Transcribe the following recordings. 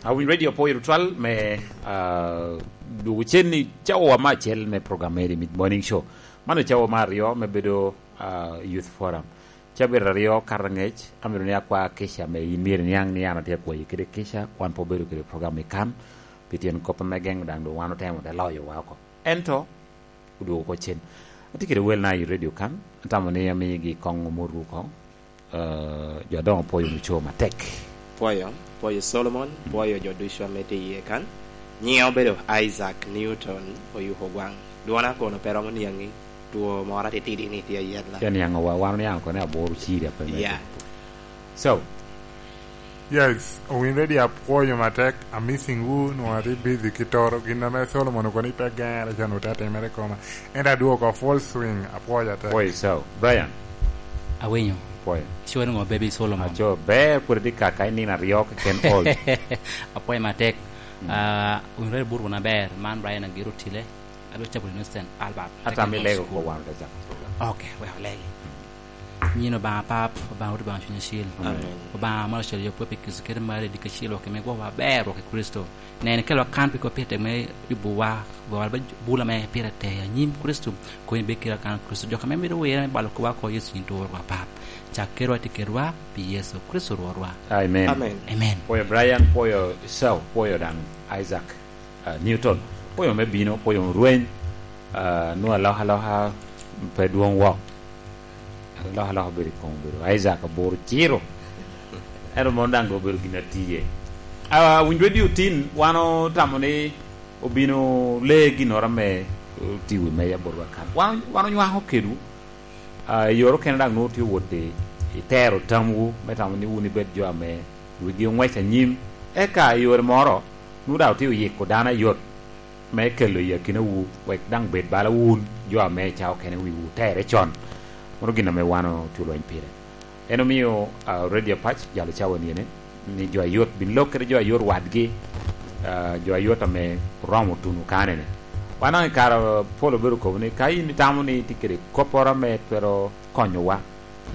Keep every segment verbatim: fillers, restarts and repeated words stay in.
Awinyo Radio Poyo tutwal me, ah, dwogo cen ni cawa me acel me program me Mid Morning Show. Man ocawa me aryo me bedo, ah, Youth Forum. Cabit aryo kato angec, amito ni akwa kica me in myero niaŋ ni an atye akwayi kede kica, wan pe obedo kede program i kan, pi tyen kop ame geŋo daŋ doŋ wan otemo te loyo wa oko. Ento, odwogo oko cen. Atye kede welna i radio kan, atamo ni amigi koŋ omot oko. Eh, jo adoŋo pwoyo wunu co matek. Pwoyo, pwoyo Solomon, mm, pwoyo jo ducu ame tye iye kan. Nyiŋa obedo Isaac Newton Oyuko Gwaŋ. Dwona kono pe romo niaŋi, two moro atitidi ni tye ayet la. Tye niaŋo wa, wan oniaŋ oko ni aboro ciri ape me. Yeah. So, Yes, owinre di apwoyo matek, amissing wu, nwoŋo atye busy ki toro, gin ame Solomon okono ni pe gere ca nwoŋo te atimere koma. Ento adwogo oko full swing, apwoyo atek. Pwoyo, so, Brian. Awinyo. Pwoyo. Icowa ni ŋo, Baby Solomon? Aco, ber pwod itye kaka i nino aryo keken old. Apwoyo matek. Mm. Ah, owinre di burgo na ber, man Brian Agiro Tile. Adwa cako wunu Saint Albert Ata mi Technical lego School. Ko wan te cako program. Ok, wek olegi. Nyin Obaŋa Pap, Obaŋa Wod, Obaŋa Cuny Acil. Amen. Obaŋa ma ocwalo yopwa pi Kricito kede mare diki acil, wok i megwa wa aber, wok i Kricito. Nen, kelwa kan pi kop pire tek me yubowa, gowa ba bula me pire tek anyim Kricito, koni bed kede kan Kricito. Jok ame mito wirre me balo kop oko Yecu yin turo wa Pap. Cak kedwa, ti kedwa pi Yecu Kricito Rwotwa. Amen. Amen. Amen. Pwoyo Brian, pwoyo Esau, pwoyo daŋ Isaac. Ah, Newton, pwoyo me bino, pwoyo rweny, ah, nwoŋo alokaloka pe dwoŋ wok. Alokaloka obedo i koŋ obedo Isaac aboro ciro. Ento mon daŋ doŋ obedo gin atiye. Ah, winyo radio tin, wan otamo ni obino le ginnoro ame otye i wi meja botwa kan. Wan, wan onywako kedwu. Ah, i yore okene daŋ nwoŋo tye wot i, i tero tamwu, me tamo ni wun ibed jo ame wigi oŋwec anyim. Eka i yore moro, nwoŋo daŋ otye oyiko dano ayot me kelo i akinawu, wek daŋ bed bala wun, jo ame i cawa okene wiwu otere con. Mano gin ame wan otye olweny pire. En omio, ah, Radio Apac jalo cawa niene, ni jo ayot bin lok kede jo ayot wadgi, ah, jo ayot ame oromo tuno kanene. Wan daŋ i kare pol obedo kobo ni, ka in itamo ni itye kede kopporo ame twero konyowa,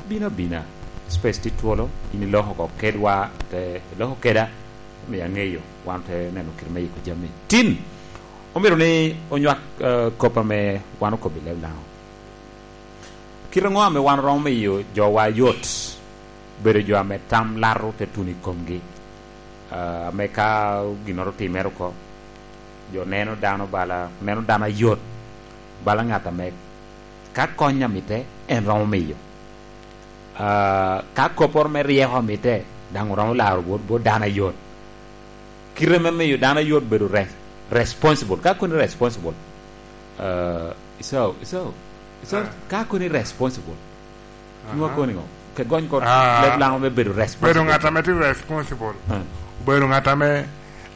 bin abina. Space tye twolo, in iloko oko kedwa, te iloko keda, omiyo aŋeyo, wan te neno kit me yiko jami. Tin, omyero ni onywak, eh, kop ame wan okobo i leb Laŋo. Kite ŋo ame wan oromo miyo jowa yot bedo jo ame tam lato te tuno i komgi? Ah, ame ka ginnoro otimere oko, jo neno dano bala, neno dano ayot, bala ŋat ame ka kony amite, en romo miyo. Ah, ka kopporo me ryeko amite, daŋ oromo laro bot, bot dano ayot. Kite me miyo dano ayot bedo re-, responsible. Ka koni responsible, ah, iso, iso, iso, ah, ka koni responsible, nwa koni ŋo? Ke gony ko, ah, leb Laŋo me bedo responsible. Bedo ŋat ame tye responsible. Ah. Bedo ŋat ame,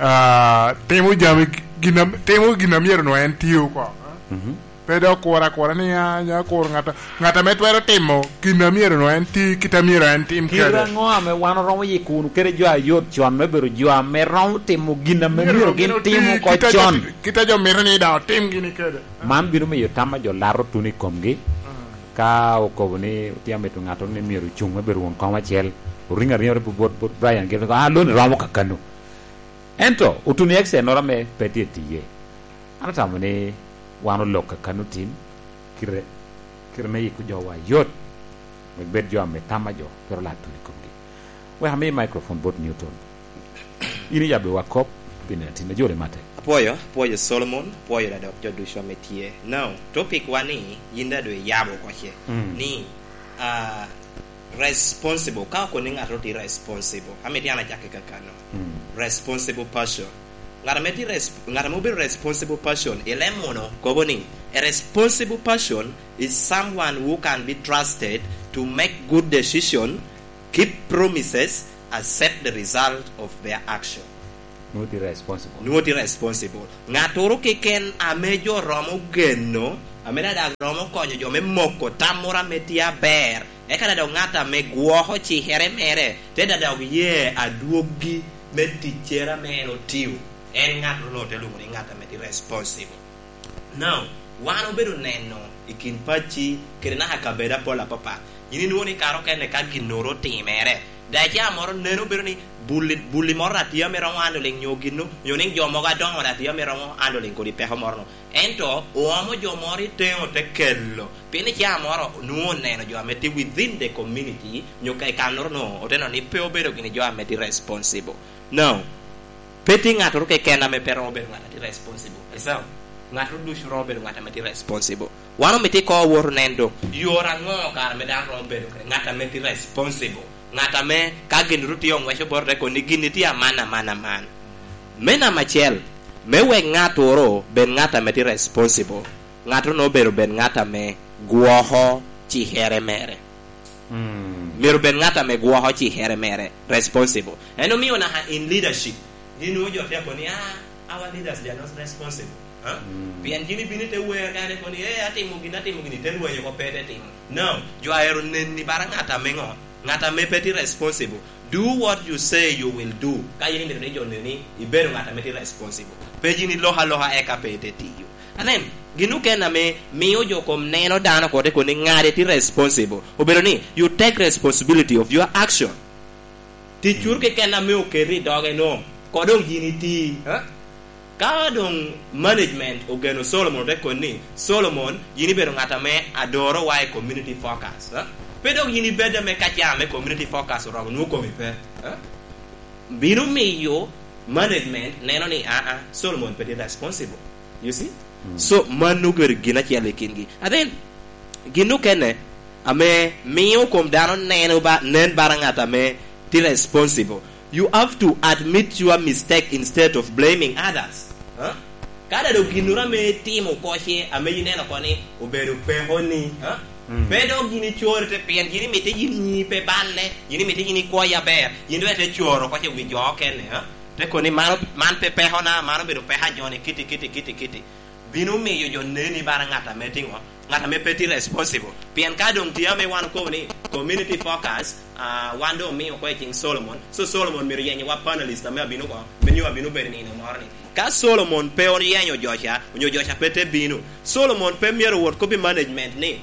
ah, timo jami gin am-, timo gin a myero nwa en tio oko. Mhm. Pe dok kuro akura ni, ah, nya kuro ŋat a-, ŋat ame twero timo gin a myero nwa en ti, kit a myero en tim kede. Kite aŋo ame wan oromo yiko wunu kede jo ayot con me bedo jo ame romo timo gin ame myero gin gin oti, tim oko kit a jo con? Ti-, kit a jo mito ni daŋ otim gini kede. Man bino miyo tam a jo lato tuno i komgi. Mm. Ka okobo ni, "Otye amito ŋattoro ni myero ocuŋ me bedo won kom acel," oriŋo ariŋa bot, bot Brian Gill, "Ah, loni romo kakano." Ento, otuno i accident-noro ame pe tye tiye. An atamo ni wan olok kakano tin, kite, kite me yiko jowa yot, wek bed jo ame tam a jo twero lato tuno i komgi. Wek ami microphone bot Newton. In iyabbi wa kop, pi nino tin ajole mate. Apwoyo, apwoyo Solomon, apwoyo da dok jo ducu ame tye. Now, topic wa ni, yin da doŋ iyabo oko ce. Mm. Ni, ah, responsible. Ka okoni ŋat oti responsible, amito an acakke kakano. Mm. Responsible person. Ŋat ame ti res-, ŋat ame obedo responsible person, i leb munu kobo ni, "A responsible person is someone who can be trusted to make good decision, keep promises, accept the result of their action." Nwoŋo tye responsible. Nwoŋo tye responsible. Ŋattoro keken ame jo romo geno, ame daŋ romo konyo jo me moko tam moro ame tye aber, eka daŋ dok ŋat ame gwoko cikere mere, te daŋ dok ye adwoggi me ticcere ame en otio, en ŋattoro nwoŋo te lwoŋo ni ŋat ame tye responsible. Now, wan obedo neno i kin pacci kede naka kabedo apol apapat. Yin inwoŋo ni kare okene ka ginnoro otimere, Daca moro neno bedo ni bulli, bulli moro datia me romo handling nyo ginnu, nyo ni jo mogo adoŋo datia me romo handling kodi peko moro no. Ento oomo jo moro i teŋo te kelo, pien i caa moro nwoŋo oneno jo ame tye within the community, nyo ka i kannoro no, oteno ni pe obedo gini jo ame tye responsible. No. Pe tye ŋattoro keken ame pe romo bedo ŋat a tye responsible. Esau, ŋattoro ducu romo bedo ŋat ame tye responsible. Wan omito ikoŋ owoto nen doŋ, yore aŋo kara ame dano romo bedo kede ŋat ame tye responsible? Ŋat ame ka gin ru tye oŋweco bot te koni gin ni tye aman, aman, aman. Me namba acel, me wek ŋattoro bed ŋat ame tye responsible, ŋattoro obedo bed ŋat ame gwoko cikere mere. Mm. Myero bed ŋat ame gwoko cikere mere, responsible. En omio naka in leadership, gin nwoŋo jo tye koni, "Ah, our leaders, they are not responsible." Ha? Mm. Pien gin ibino ite wer kare koni, "Eh, atimo gin, atimo gin," ite lwenyo ko pe ite timo. No, jo aero neni bara ŋat ame ŋo? Ŋat ame pe tye responsible. Do what you say you will do. Ka yin imito ni jo neni, ibedo ŋat ame tye responsible. Pe yin iloko aloka eka pe ite tiyo. Anen, gin okene ame mio jo kom neno dano kote koni ŋade tye responsible. Obedo ni, you take responsibility of your action. Ticuru keken ame oketi i doge no, ko doŋ yin iti, ha? Ka doŋ management ogeno Solomon, ote koni, "Solomon, yin ibedo ŋat ame adoro wa i community focus, ha? Pe dok yin ibed ame ka ca ame community focus oromo nwoŋo komi pe, ha?" Bino miyo management neno ni, "Aa, Solomon pe tye responsible." You see? Mm. So, mano obedo gin acel i kingi. And then, gin okene ame mio kom dano neno ba, nen bara ŋat ame tye responsible. You have to admit your mistake instead of blaming others. Huh? Ka dado ginnoro ame itimo oko ce, ame ineno oko ni obedo peko ni, huh? Mm. Pe dok yin icoro te, pien yin imito yin nyi pe balle, yin imito yin ikwoyi aber, yin dok ite coro oko ce wi jo okene, huh? Te koni, "Mano, man pe pekona, mano obedo peko a joni, kiti, kiti, kiti, kiti." Bino miyo jo neni bara ŋat ame tye ŋo? Ŋat ame pe tye responsible. Pien ka doŋ tye ame wan okobo ni community focus, ah, wan doŋ omio oko i cing Solomon. So Solomon myero yenyo wa panelist ame abino oko, me nyo abino bedo i nino moro ni. Ka Solomon pe oyenyo jo ca, onyo jo ca pe te bino, Solomon pe myero owot kobbi management ni,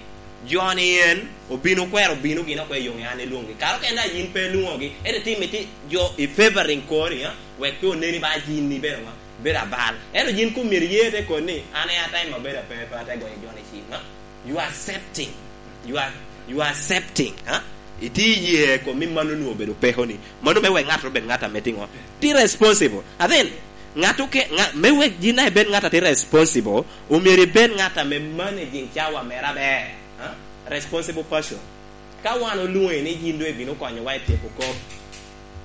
"Joni en obino kwero bino gin oko i yo me an ilwoŋgi." Kara kende a yin pe ilwoŋogi, ento itye imito jo i favoring kori, ha? Wek pe oneni ba yin ibedo ŋo? Bedo abal. Ento yin kun myero iye te koni, "An aye atimo maber ape, pe ate goyo joni cim, ha?" You are accepting. You are, you are accepting, ha? Itye iye kom ni mano nwoŋo obedo pekoni. Mano me wek ŋat obed ŋat ame tye ŋo? Tye responsible. And then, ŋat oke-, ŋa-, me wek yin daŋ ibed ŋat a tye responsible, omyero ibed ŋat ame managing cawa mere aber, ha? Responsible person. Ka wan olwoŋi ni yin doŋ ibino konyowa i tyeko kop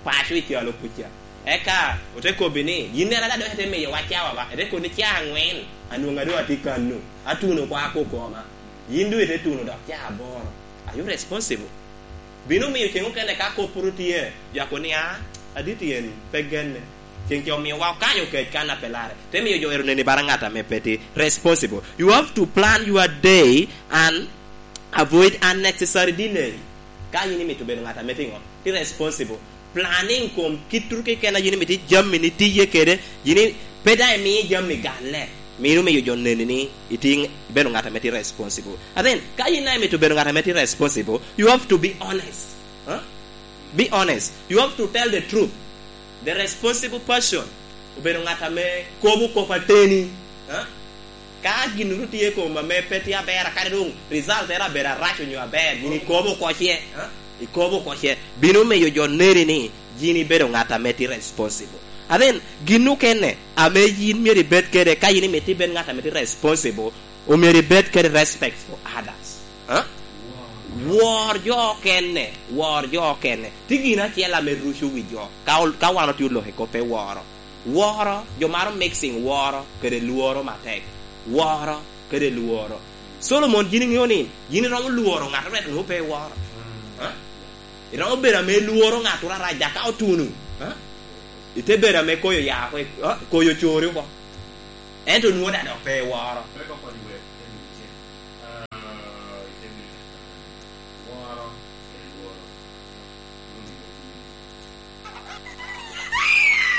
paco i calo kuca, eka ote kobbi ni, "Yin en ada doŋ ite miyowa cawa ba?" Ete koni, "Ca aŋwen, anwoŋo doŋ atye kano, atuno oko ako koma." Yin doŋ ite tuno dok ca aboro. Are you responsible? Bino miyo ceŋ okene ka kop pwod tye, jo akoni, "Ah, adit en pe genne." Ceŋ ca omiowa okanyo kec kan a pe larre. Te miyo jo ero neni bara ŋat ame pe tye responsible. You have to plan your day and avoid unnecessary delay. Ka yin imito bedo ŋat ame tye ŋo? Tye responsible. Planning kom kit turu keken a yin imito jami ni tiye kede, yin i-, pe daŋ imiyo jami galle. Mino miyo jo neni ni itye ŋ-, ibedo ŋat ame tye responsible. And then, ka yin daŋ imito bedo ŋat ame tye responsible, you have to be honest. Huh? Be honest. You have to tell the truth. The responsible person obedo ŋat ame kobo kop ateni. Ha? Ka gin ru tye i kom ame pe tye aber, kadi doŋ result ere abedo arac onyo aber, gin ikobo oko ce, ha? Ikobo oko ce. Bino miyo jo neni ni yin ibedo ŋat ame tye responsible. And then, gin okene ame yin myero ibed kede, ka yin imito ibed ŋat ame tye responsible, omyero ibed kede respect for others. Ha? Wor jo okene, wor jo okene. Tye gin acel ame ruco wi jo. Ka ol-, ka wan otye oloko i kop pe woro. Woro, jo maro mixing woro kede lworo matek. Woro kede lworo. Solomon, yin iŋeo ni yin iromo lworo ŋat ret nwoŋo pe iworo. Ha? Iromo bedo ame ilworo ŋat arac, dok ka otuno, ha? Ite bedo ame koyo ya oko, ha? Koyo cori oko. Ento nwoŋo daŋ dok pe iworo.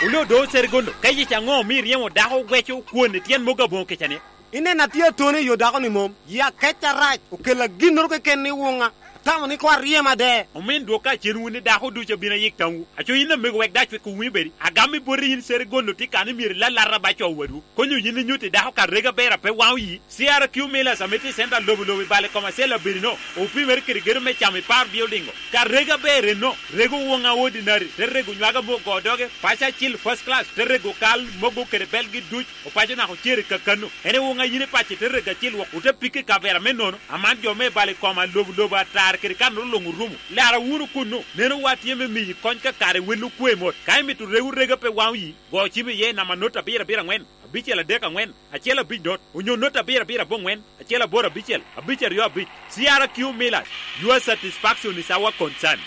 Wunu odo Cerigolo, ka yec aŋo omio iryemo dako weco kwon i tyen mogo aboŋo kica-ni? Ineno atye atoni i yo dako-ni mom, yi akec arac, okella ginnoro keken ni wuŋa. Atamo ni koŋ aryem ade. Omin dwok kacen wun i dako ducu abino ayik tamwu. Aco yin amego wek dac wek owinyo bedi. Agam i boti yin sere gono tye kan i myero ilalata ba co wadwu. Konyo yin inyutti dako ka rega ber ape waŋ oyi. C R Q Millers ame tye i center lobo lobo i bale kom acel abedi no. Opimere kede gedo me camo i par building o. Ka rega ber enno. Rego woŋa ordinary. Te rego nywaga me ogo doge. Paco acil first class. Te rego kal mogo kede belgi duc. Opaco naka ocere kakano. En ewoŋ a yin i paco ite rego acil wok, ote piko i kavera me nono. Aman jo me balo i koma lobo lobo atar kede kanoro luŋ orumo. Lara wunu kunnu. Neno wa tye me miyi kony ka kare wel okwe mot. Ka imito rego rega pe waŋ oyi, go cim iye i namba not abiro abiro aŋwen, abicel adek aŋwen, acel abic not, onyo not abiro abiro aboŋwen, acel aboro abicel, abic aryo abic. C R Q Millers, your satisfaction is our concern.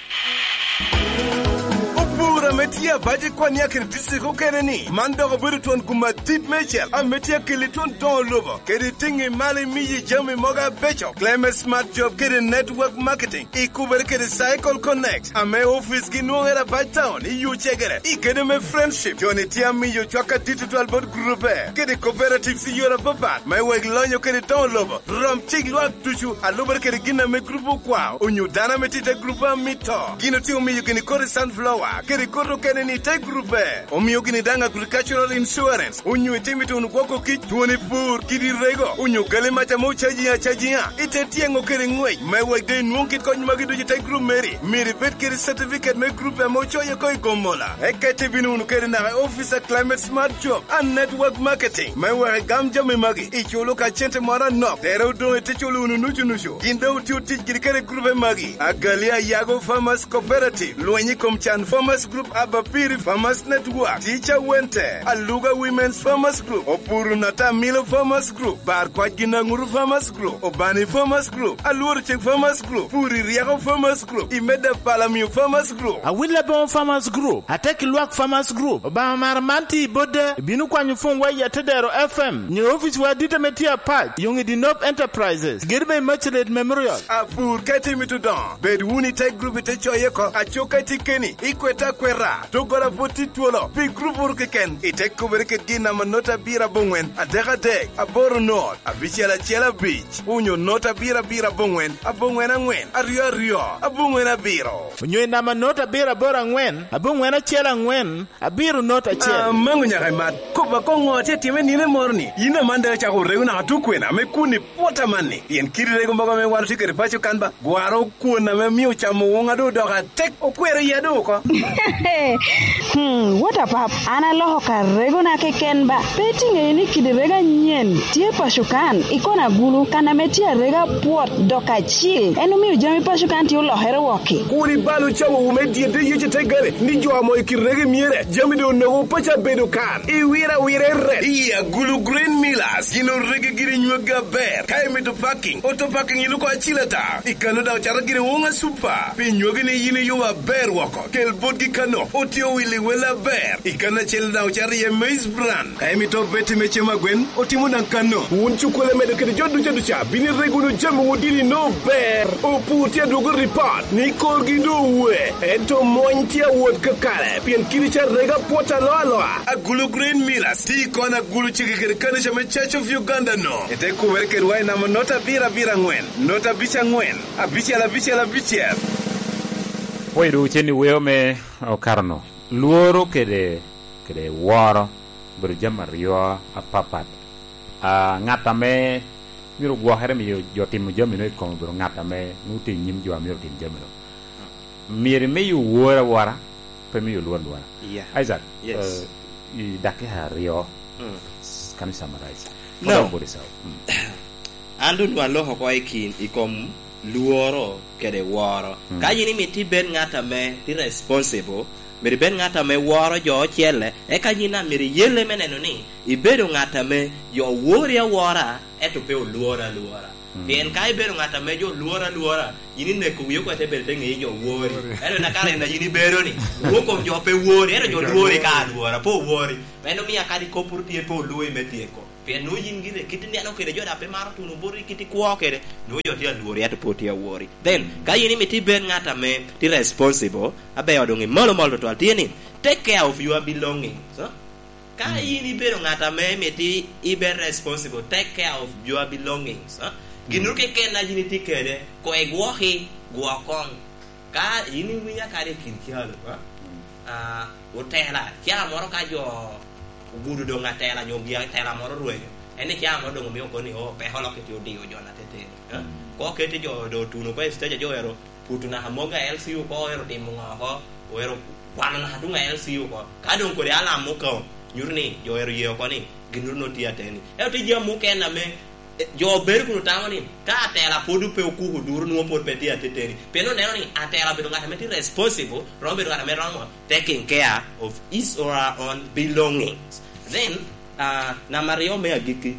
Opur ame tye abac i Kwania kede district okene ni, man dok obedo twon gum adit mecel ame tye akeli twon doŋo lobo, kede tiŋi malo imiyi jami mogo abeco. Clement Smart Job kede Network Marketing, ikubere kede Cycle Connect, ame ofice gi nwoŋere abac town i Yucegere, i gedo me Friendship. Joni tye amiyo cwak adit tutwal bot grupe, kede cooperatives i yore apapat, me wek lonyo kede doŋo lobo. Rom cik lwak ducu, a lubere kede gin ame grup okwao, onyo dano ame tye i te grup a mito. Gin otye omiyo gini kodi sunflower, kede kodi okene ni i te grupe. Omio gini daŋ agricultural insurance, onyo itimo ituno gwoko kic, twoni pur, kidi rego, onyo gali mac ame ocaji acajiŋa, ite tyeŋo kede ŋwec, me wek de inwoŋ kit kony magi ducu i te grup meri. Myero ibed kede certificate me grup ame ocoye oko i Gomola. Eka ite bino wunu kede naka i office a Climate Smart Job and Network Marketing, me wek igam jami magi. Iculo ka cente moro anok, tere odoŋ ite culo wunu nucu nucu. Gin doŋ otio tic kede kede grupe magi: Agali Ayago Farmers Cooperative, Lweny i kom Can Farmers Group, Abapiri Farmers Network, Teacher Wente, Aluga Women's Farmers Group, Opuru Natamilo Farmers Group, Bar Kwac Ginaŋuru Farmers Group, Obani Farmers Group, Alworo Ceng Farmers Group, Puri Ryeko Farmers Group, Imeda Palamio Farmers Group. Awil Aboŋo Farmers Group, Atek Lwak Farmers Group, Obaŋa Mara man tye i Bodde, ibino kwanyo pwony wa i Atedero F M, nyo office wa adit ame tye apac, Yoŋ i Dinop Enterprises, gedo me Immaculate Memorial. Apur ka itye mito dongo, bed wunu i te grup ite coye oko, aco ka itye keni, ikwete akweta, doggola pwod tye twolo, pi grup oro keken, ite kubere kedgi i namba not abiro aboŋwen, adek adek, aboro not, abicel acel abic, onyo not abiro abiro aboŋwen, aboŋwen aŋwen, aryo aryo, aboŋwen abiro. Onyo i namba not abiro aboro aŋwen, aboŋwen acel aŋwen, abiro not acel. Amaŋo nyaka imat. Kop akoŋo tye time nino moro ni? Yin aman daŋ icako rego naka tukwena me kun i pwot amanni. Pien kidi rego mogo ame wan otye kede paco kan ba, gwaro kwon ame mio camo woŋa doŋ odoko atek, okwero iya doŋ oko. Hmm, what a pap. An aloko ka regona keken ba. Pe itiŋeyo ni kidi rego anyen tye paco kan, i kona agulu, kan ame tye arega pwot dok acil. En omio jami paco kan tye olokere wok. Kur ibal ocawowu me dyedde yec i te gare, ni jo amo i kit rego myere, jami doŋ onogo paco abedo kan. Iwiro awira i ret. I agulu Green Millers, gin orege giri nyweggi aber. Ka imito parking, auto parking iluko acil ata. I kano daŋ ocato giri woŋa super. Pi nywegi ni yin iyubo aber woko. Kel botgi kano, otye owil i wel aber. I kano acel daŋ ocato iye maize bran. Ka imito obeti me cem agwen, otimo daŋ kano. Wun cukkole medo kede jo duca duca, bino ireg wunu jami wun dini no ber. Opur tye adwogo ripot ni korgi doŋ owe, ento mony tye awot kakare, pien kidi ca rega pwot alo aloa. Agulu Green Millers tye i kona agulu cege kede kanica me Church of Uganda no. Ite kubere kedwa i namba not abiro abiro aŋwen, not abic aŋwen, abicel abicel abicel. Pwoyo dwogo cen i weo me okato no. Lworo kede, kede woro obedo jami aryo apapat. Ah, ŋat ame myero gwokere miyo jo timo jami no i kome obedo ŋat ame nwoŋo tye i nyim jo a myero otim jami no. Myero imiyo woro awora, pe miyo lworo alwora. Yeah. Isaac, yes, eh, i dakika aryo, mm, can you summarize? No. What about yourself? Mm. An doŋ aloko oko i kin, i kom lworo kede woro. Mm. Ka yin imito ibed ŋat ame tye responsible, myero ibed ŋat ame woro jo ocele, eka yin daŋ myero iyelle me neno ni ibedo ŋat ame jo wori awora, ento pe olworo alwora. Mm. Pien ka ibedo ŋat ame jo lworo alwora, yin ineko wii oko ite bedo te ŋeyi jo wori. Wori. Ento na kare na yin ibedo ni, rwok kom jo pe wori, ento jo lwori ka alwora, pe owori. Meno mia kadi kop pwod tye pe olwoyi me tyeko. Pien nwoŋo yin gire kit ineno kede jo daŋ pe maro tuno boti kit ikwo kede, nwoŋo jo tye alwori, ento pwod tye awori. Then, ka yin imito ibed ŋat ame tye responsible, aber doŋ imalo malo tutwal, tye ni, take care of your belongings, huh? Ka, mm, yin ibedo ŋat ame mito ibed responsible, take care of your belongings, huh? Ginnoro keken a yin itye kede, koŋ igwoki. Gwok koŋ. Ka yin iwinya kadi i kin calo, a? Mm. Ah, otela, ca moro ka jo ogudo doŋ atela, nyo gi atela moro rwenyo. En ni ca moro doŋ omio kono ni, "Oh, peko lok kiti odio jo na teteni." A? Mm. Ko kete jo, do tuno ko i stage, jo ero puto naka mogo a L C oko, ero timo ŋo oko, ero kwano naka tuŋ a L C oko. Ka doŋ kodi alam okaŋ, nyuto ni jo ero ye oko ni, gin ru no tye ateni. Ento tye jami mukene ame, eh, jo bedo kun otamo ni, ka atela pwod pe okuko duro, nwoŋo pwod pe tye ateteni. Pien oneno ni atela obedo ŋat ame tye responsible, romo bedo ŋat ame romo taking care of his or her own belongings. Then, ah, namba aryo me agikki,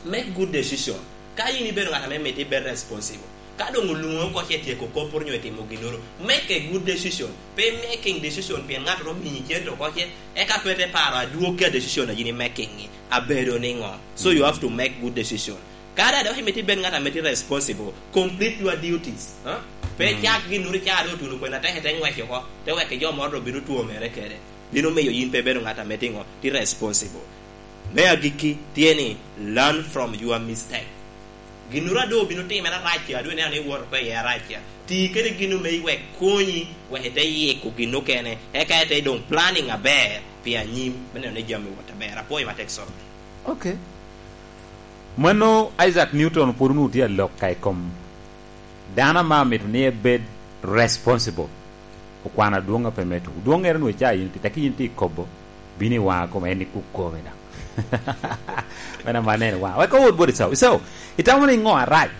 make good decision. Ka yin ibedo ŋat ame mito ibed responsible, ka doŋ olwoŋi oko ce tyeko kop onyo itimo ginnoro, make a good decision. Pe making decision pien ŋat oromo miyi cente oko ce, eka pe te paro adwoggi a decision a yin imaking-ŋi abedo niŋo. So you have to make good decision. Kadi a dok imito ibed ŋat ame tye responsible, complete your duties, ha? Pe Mm. cak ginnoro ica doŋ otuno kwena tek ite ŋwec oko, te wek jo moro doŋ bino two mere kede. Bino miyo yin pe ibedo ŋat ame tye ŋo, tye responsible. Me agikki tye ni, learn from your mistake. Ginnoro a doŋ obino timere arac ca, a doŋ ineno ni iwoto oko iye arac ca, ti kede gin ame iwek konyi, wek ite yiko gin okene, eka ite doŋ planning aber pi anyim, me neno ni jami owot aber. Apwoyo matek, Solo. Ok. Mano Isaac Newton pwod onwoŋo tye alok ka i kom dano ame amito ni ebed responsible. Okwano adwoŋ a pe meto. Dwoŋŋere onwoŋo ica yin tye, tekki yin tye i kobo, bino i waŋa koma, en ikuk kome daŋ. Meno ama aneno i waŋa. Wek owot bot Ecau. Ecau, itamo ni ŋo arac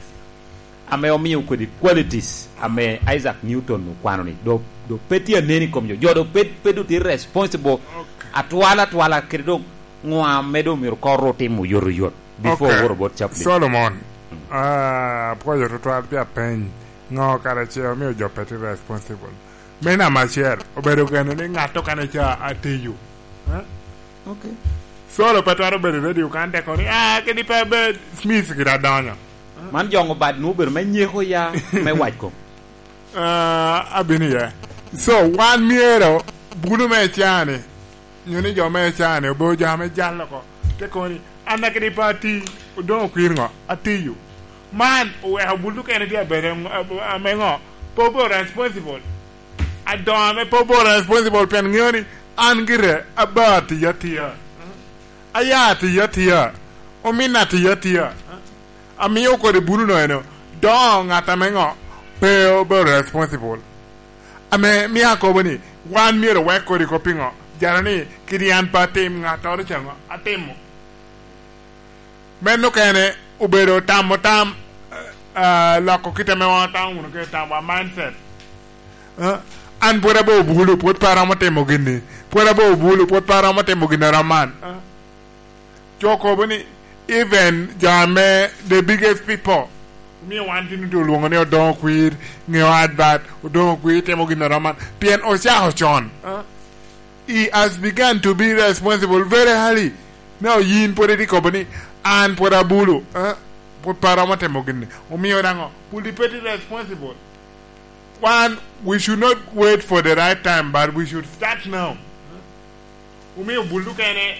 ame omio kodi qualities ame Isaac Newton okwano ni, do, do pe tye anen i kom jo? Jo do pe, pe do tye responsible atwal atwala, kede doŋ ŋo ame doŋ myero kor otimo oyotoyot before Ok. owor bot Chaplin? Solomon, Mm. ah, apwoyo tutwal pi apeny. Ŋo kara ce omio jo pe tye responsible? Me namba acel, obedo geno ni ŋat okene ca atiyo. Eh? Ok. Solo pe twero bedo i radio kan te kono ni, "Ah, kadi pe abed Smith gire adonyo." Man joŋo bad nwoŋo obedo me nyeko ya, me wac kom. Ah, abino iye. So, wan myero bulu me cani, nyo ni jo me cani, obedo jo ame jalo oko. Te kono ni, "An akidi pe ati, odoŋ okwir ŋo? Atiyo." Man oweko bulu kene tye abedo ŋo-, ame ŋo? Pe obedo responsible. Adoŋo ame pe obedo responsible pien ŋeo ni an gire aba atiyo atiya. Aya atiyo atiya. Omin atiyo atiya. Amio kodi bulu no eno, doŋo ŋat ame ŋo? Pe obedo responsible. Ame mio akobo ni, wan myero owek kodi kop i ŋo? Jalo ni, kidi an pe atim, ŋattoro ca ŋo? Atimo. Meno kene obedo tamo tam, eh, ah, loko kit ame wan otamo wunu kede tamwa, mindset. Eh, an pwod abe obulu, pwod pe aromo timo gini. Pwod abe obulu, pwod pe aromo timo gin arom man. Eh, jo kobo ni, even jo ame the biggest people, omio wan tin onwoŋo olwoŋo ni Odoŋo Kwir, ŋeo advert, Odoŋo Kwir timo gin arom man. Pien ocako con. Eh, he has begun to be responsible very early. Now, yin pwod itye kobo ni, "An pwod abulu, eh? Pwod pe aromo timo gini." Omio daŋo, pwod pe itye responsible. Wan, we should not wait for the right time, but we should start now. Omio bulu kene,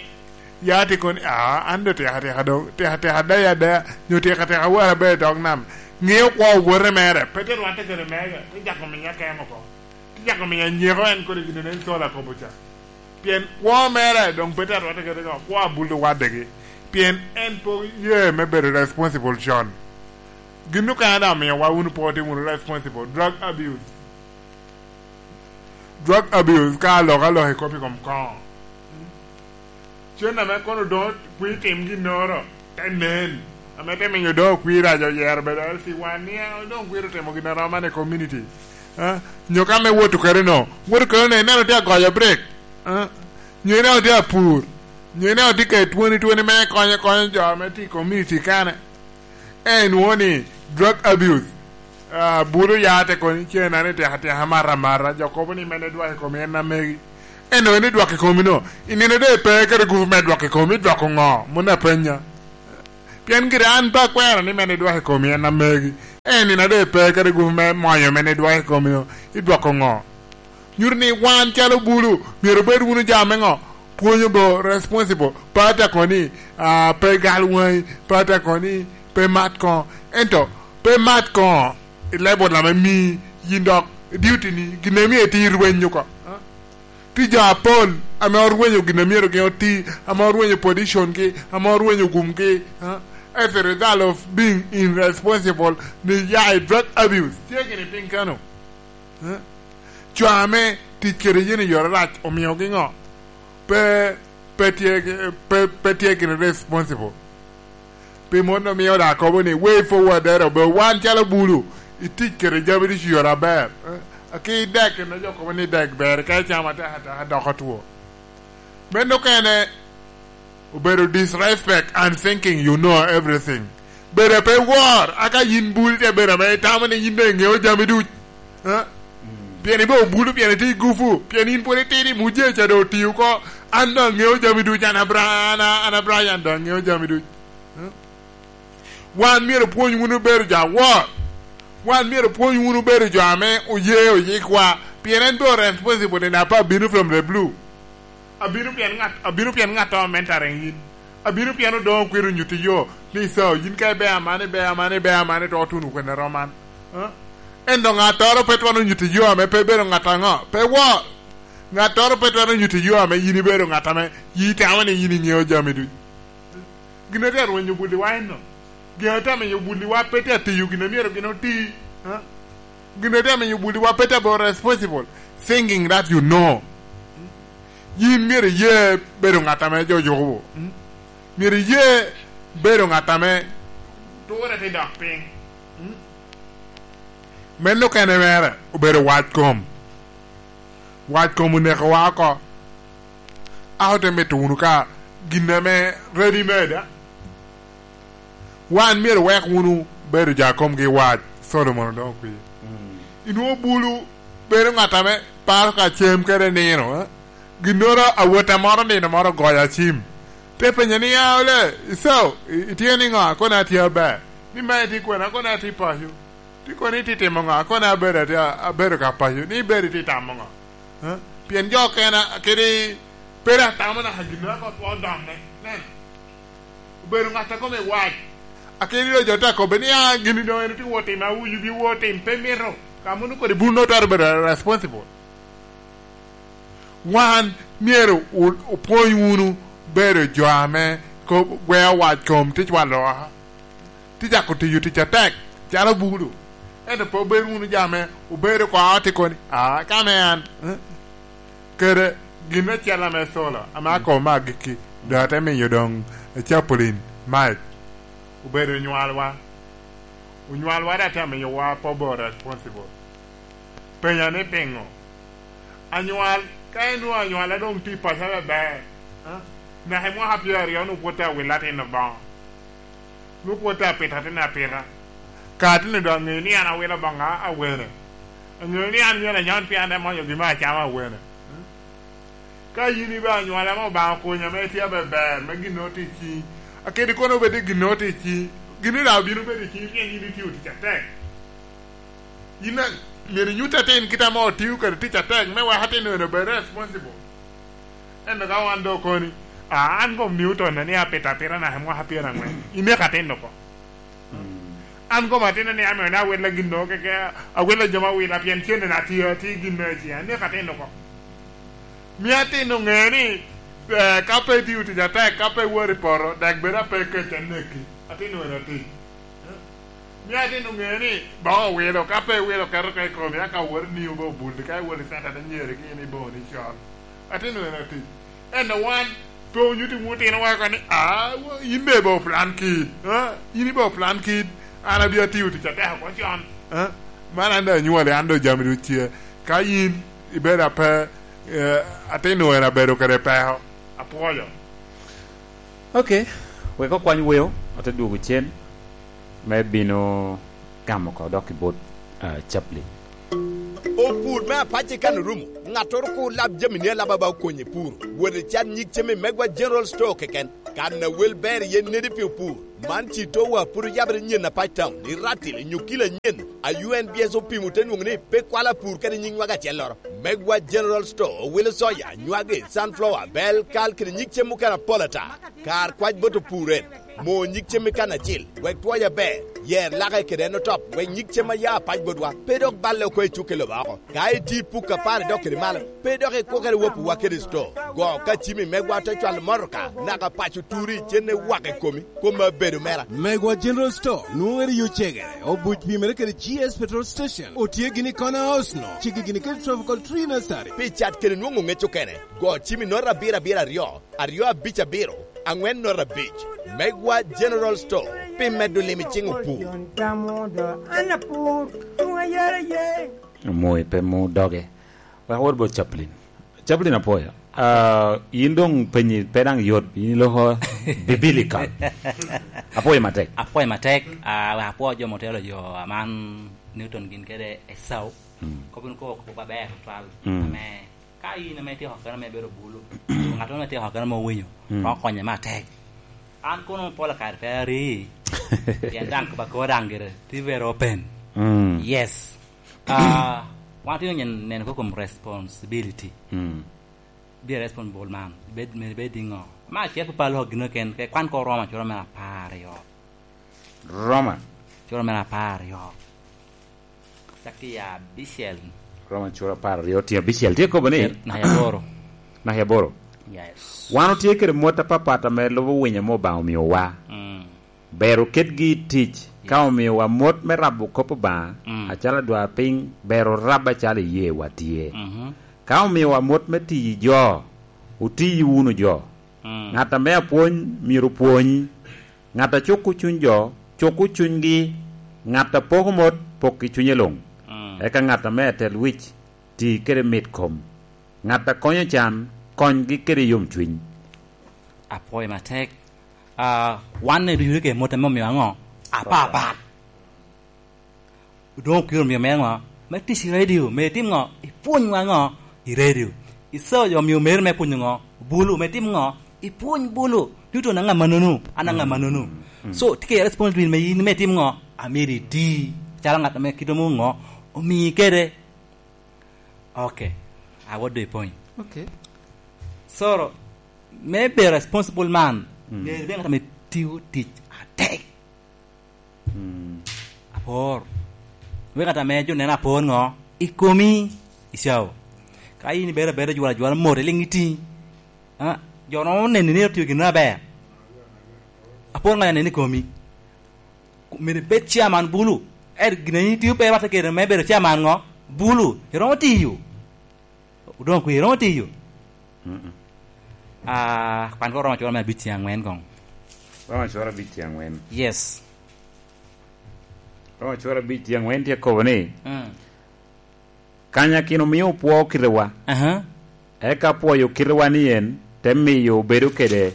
ya tye kono, "Ah, an do tek ateka doŋ, tek ateka adaya adaya, nyo tek ateka awara abedo i dog nam." Ŋeo kwo owote mere, pe te rwatte kede mega, te jako miya kemo oko. Te jako miya nyeko en kodi gin nen Saul akobo ca. Pien kwo mere doŋ pe te arwatte kede ŋo, kwo abuldo wadegi. Pien en pe oye me bedo responsible con. Gin okene daŋ omio wa wunu pe otimo wunu responsible. Drug abuse. Drug abuse ka alok alok i kop i kom koŋo. Cen ame kono doŋ kwir tim ginnoro, te nen. Ame te miyo doŋ okwir ajo yero bedo L C one, ni, "Ah, doŋ kwir otimo gin aromo man i community." Ah, nyo ka me woto kede no, woto kede no, ineno tye agoyo break. Ah, nyo ineno tye apur. Nyo ineno tye ka twoni twoni me konyo, konyo jo ame tye i community kane. En nwoŋo ni drug abuse. Ah, bulu ya te kono i cen ni tek atek amata amata, jo kobo ni mene dwoko i komi en amegi. En nwoŋo ni dwoko i komi no, i nino doŋ ipe kede gupu me dwoko i komi, idwoko ŋo? Moni apenya. Pien gire an pe akwero ni mene dwoko i komi en amegi. En nino doŋ ipe kede gupu me moyo mene dwoko i komi no, idwoko ŋo? Nyuto ni wan calo bulu myero obed wunu jo ame ŋo? Pwonyo bo responsible. Pe ata kono ni, ah, pe gal waŋi, pe ata kono ni pe mat koŋo. Ento pe mat koŋo i level ame mii yin dok duty ni, gin a myero iti rweny oko. Tye jo apol ame orwenyo gin a myero gin oti, ame orwenyo position gi, ame orwenyo gum gi. As a result of being irresponsible, ni ya i drug abuse. Tye gini piny kano? Co ame tic kede yen i yore rac omiogi ŋo? Pe, pe tye, pe, pe tye gini responsible. Pi mano omio da akobo ni, way forward dero, be wan calo bulu, itic kede jami ducu i yore aber. Eh, aki dek, kene jo kobo ni dek ber, ka icamo atek ateka doko two. Meno okene obedo disrespect and thinking you know everything. Bedo pe wor, aka yin bulu te bedo ame itamo ni yin dong iŋeo jami duc. Eh? Pien ibe obulu, pien itye i gupu, pien in pwod itidi, muje ca dong oti oko. An dong aŋeo jami duc, an Abra-, an, an Abrayan dong aŋeo jami duc. Wan myero opwony wunu bedo jo awor. Wan myero opwony wunu bedo jo ame oye oyikwa, pien en doŋ responsible enough abino from the blue. Abino pien ŋat, abino pien ŋat a mentoring yin. Abino pien odoŋo kwero nyutti yo, ni, "So, yin ka ibe amani, ibe amani, ibe amani, to otuno kwene roman." Eh? Ento ŋattoro pe twero nyutti yo ame pe bedo ŋat aŋo, pe wor. Ŋattoro pe twero nyutti yo ame yin ibedo ŋat ame yin itamo ni yin iŋeo jami duc. Gin a tye arwenyo bulliwa enno. Gin a tye amiyo bulliwa pe tye atiyo gin a myero gin oti. Ha? Gin a tye amiyo bulliwa pe tye abedo responsible. Thinking that you know. Yin myero iye bedo ŋat ame jo yuko. Myero iye bedo ŋat ame ture te dok piny. Meno okene mere obedo wac kom. Wac kom onekowa oko. A ote mito wunu ka gin ame ready made, a? Wan myero wek wunu bedo jo a komgi wac, Solomon odoŋo kwi. Inwoŋo bulu bedo ŋat ame paro ka cem kede nino, a? Ginnoro awot a moro nino moro ogoyo acim. Te penye ni, "A, ole, iso, i-, itye niŋo?" Akone atye aber. Ni, "Ma itye kwene?" Akone atye paco. Ti kono itye timo ŋo? Kono abedo, atye, abedo ka paco ni ibedo itye tamo ŋo? Eh? Pien jo okene kede pe dok tamo naka gin a kop odoŋe. Nen, obedo ŋat a kome wac. Akedi doŋ jo te akobbe ni, "A, gini doŋ en otye wot tim, awuyu bi wot tim, pe mito." Ka mano kodi bun nwoŋo twero bedo responsible. Wan myero o-, opwony wunu bedo jo ame ko-, gweo wac kom tic wa loka. Tye cako tiyo tic atek, calo bulu. Ento pe obed wunu jo ame obedo oko a tye koni, "A, ka me an, eh?" Kede gin acel ame Sola, ame akobo me agikki, doŋ ate miyo doŋ Chaplain Mike obedo onywalwa. Onywalwa dok te miyowa pobo responsible. Penya ni piŋo? Anywal, ka inwoŋo anywal a doŋ tye i paco aber, eh? Naka i mwaka pyeraryo onwoŋo pwod tye awilo atin Obaŋa. Nwoŋo pwod tye apito atin apita. Ka atin doŋ aŋeyo ni an awilo Obaŋa awene. Aŋeyo ni an myero anyon pien an daŋ amonyo gin me acama awene. Ka yin ibe anywala ame Obaŋa okonyo ame itye aber ber, me gin nwoŋo tye i ciŋi. Akedi kono obed ni gin nwoŋo tye i ciŋi. Gin ni daŋ obino bedo i ciŋi pien yin itio tic atek. Yin daŋ myero inyut atin kite ame otio kede tic atek me wek atin eno obed responsible. Ento ka wan doŋ okoni, "A, an kom Newton ni apito apita naka i mwaka pyeraŋwen." Ineko atin oko. An kom atin ni ame ni awilla gin doŋ keke, awilla jo ma willa pien cente na tio, ati gin me ciŋ. Ineko atin oko. Mio atin oŋe ni, eh, ka pe itio tic atek, ka pe iwor i poto, dek bed ape kec aneki. Atin wene atin. Mio atin oŋe ni boŋo owilo, ka pe iwilo keto ka i komi, aka wot ni obo bul, ka iwot i center te nyeri ki in i boŋo ni col. Atin wene atin. Ento wan, pe onyutti wun otino wa ni, "A, wo-, yin be bo plan kid, a? Yin ibo plan kid, an abia tiyo tic atek oko con, a? Man an doŋ anywali, an doŋ jami duc tye." Ka yin ibedo ape, eh, atin wene abedo kede peko, apwoyo. Ok, wek okwany weo, ote dwogo cen me bino gamo oko dok i bot, ah, Chaplain. Opur me apace kan orumo, ŋattoro kur lab jamini alaba ba okonye puro. Wot icat nyig cem i Megwa General Store keken. Kan a wel ber iye nedi pi opur. Man ci towa pud oyabere nyen apac town, i Ratil, nyo kilo anyen. A U N B S opimo te nwoŋo ni pe kwalo apur kede nyig nywag acelloro. Megwa General Store owilo soya, nywagi, sunflower, bel, kal, kede nyig cem mukene apol ata. Kar kwac bot opur en. Mo nyig cem i kan acil, wek twoc aber, yer lake kede en otop, wek nyig cem a ya apac botwa pe dok balle oko i cuk i lobo oko. Ka itye i puk apar idok kede malo, pe dok ikukere wopiwa kede sto. Go ka cimi megwa te cwalo motoka, naka paco turi, cenne wak i komi, kome abedo mera. Megwa General Store nwoŋere i Ocegere, obuc pimere kede G S Petrol Station, otye gini i Corner House no, cigi gini kede Tropical Tree Nursery. Pi cat kede nwoŋo ŋec okene, go cimi note abiro abiro aryo, aryo abic abiro, aŋwen note abic. Megwa General Store, pi medo lim i ciŋ opur. An apur, tuŋ ayera ye. Omoyo pe mu doge. Wek awot bot Chaplin. Chaplin apwoyo. Ah, yin doŋ penyi pe daŋ yot, yin iloko biblical. Apwoyo matek. Apwoyo matek, ah, wek apwo jo motelo jo aman Newton gin kede Esau. Mm. Kop in kobo kop aber tutwal. Mm. Ame ka in ame ityeko kene ame ibedo bulu, ŋat ame ityeko kene ame owinyo, mm, romo konye matek. An kono pol kare pe ari, pien daŋ kop akor daŋ gire, tye very open. Mm. Yes. Ah, wan tye onyo neno ko kom responsibility. Mm. Be responsible man. Bed, bed, bed iŋo? Ma acel pe palo gino ken, ke kwan ko Roma curo mere apar aryo. Roma. Curo mere apar aryo. Cak i abicel. Roma curo apar aryo, tye abicel. Tye kobo ni? Naka aboro. Naka aboro. Yes. Wan otye kede mot apapat ame lubo winyo ame Obaŋa omiowa. Mm. Ber oketgi i tic, yes, ka omiowa mot me rabo kop Obaŋa, mm, acalo adwarpiny, ber orab acalo iyeewa tye. Mhm. Ka omiowa mot me tiyo i jo, otiyi wunu jo. Mm. Ŋat ame apwony, myero opwony. Ŋat a cuko cuny jo, cuku cunygi. Ŋat a poko mot, pok i cunye luŋ. Mm. Eka ŋat ame atel wic, ti kede mit kom. Ŋat a konyo can, konygi kede yomcuny. Apwoyo matek. Ah, wan ne ducu ke mot ame omio aŋo? Apapat. Doŋ okiro omio mere ŋo? Me tic i radio, me itim ŋo? Ipwony wa ŋo? I radio. Isao jo omio mere me pwonyo ŋo? Bulu, me tim ŋo? Ipwony bulu. Newton aŋa manono, an aŋa manono. Mm. So, tye ke responsibility me yin me tim ŋo? Amyero iti. Calo ŋat ame kite mo ŋo? Omii kede. Okay. I want the point. Okay. So, me be responsible man, mm, myero ibedo ŋat ame tio tic atek. Mm. Apor. Wek ŋat ame jo neno apor ŋo? I komi, i cawa. Ka in ibedo abeda jwala jwala mot, iliŋ iti. Ah, jo romo neni ni otio gin aber. Apor ŋo ya neni i komi? Myero ibed chairman bulu. Er gin a in itio pe irwatte kede me bedo chairman ŋo? Bulu. Iromo tiyo. Odoŋo kwe, iromo tiyo? Mm-mm. Ah, kwan ko Roma cura me abic tye aŋwen koŋ. Roma cura abic tye aŋwen. Yes. Roma cura abic tye aŋwen tye kobo ni, mm, kanyakino mio opwo kitewa. Aha. Eka pwoyo kitewa ni en, te miyo obedo kede,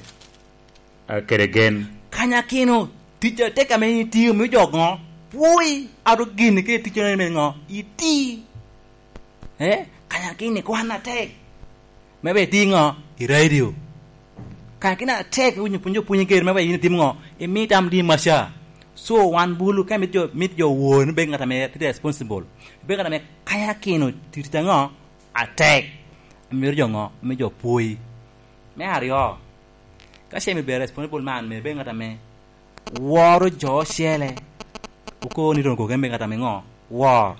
ah, kede gen. Kanyakino, tic atek ame in itio, mio jo ŋo? Pwoi, ato gini kede ticone me ŋo? Iti. Eh, kanyakini kwan atek. Me be iti ŋo? I radio. Kanyakini atek, winyo pwonyo pwonyo kede, me be in itim ŋo? Imi tam di maca. So, wan bulu, ka mit jo, mit jo wor ni bed ŋat ame tye responsible. Bed ŋat ame kanyakino titi ŋo? Atek. Myero jo ŋo? Myero jo pwoi. Me aryo, ka ce myero bed responsible man, myero bed ŋat ame woro jo ocele. Okobo ni ron koke me ŋat ame ŋo? Wor.